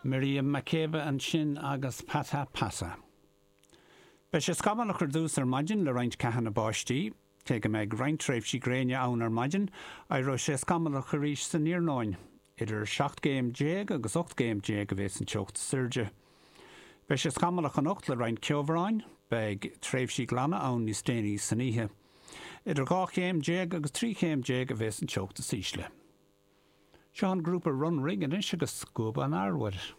Miriam Makeba ansin agus Pata Pata. Beidh sé scamallach ar dtús ar maidin le roinnt ceathanna báistí. Cé go mbeidh roinnt tréimhsí gréine ann ar maidin, éireoidh sé scamallach arís san iarnóin. Idir 17 gcéim agus 18 gcéim a bheas an teocht is airde. Beidh sé scamallach anocht le roinnt ceobhráin. Beidh tréimhsí glana ann níos déanaí san oíche. Idir 12 chéim agus 13 chéim a bheas an teocht is ísle. Seo an grúpa Runrig anois agus Scuab an Arbhair.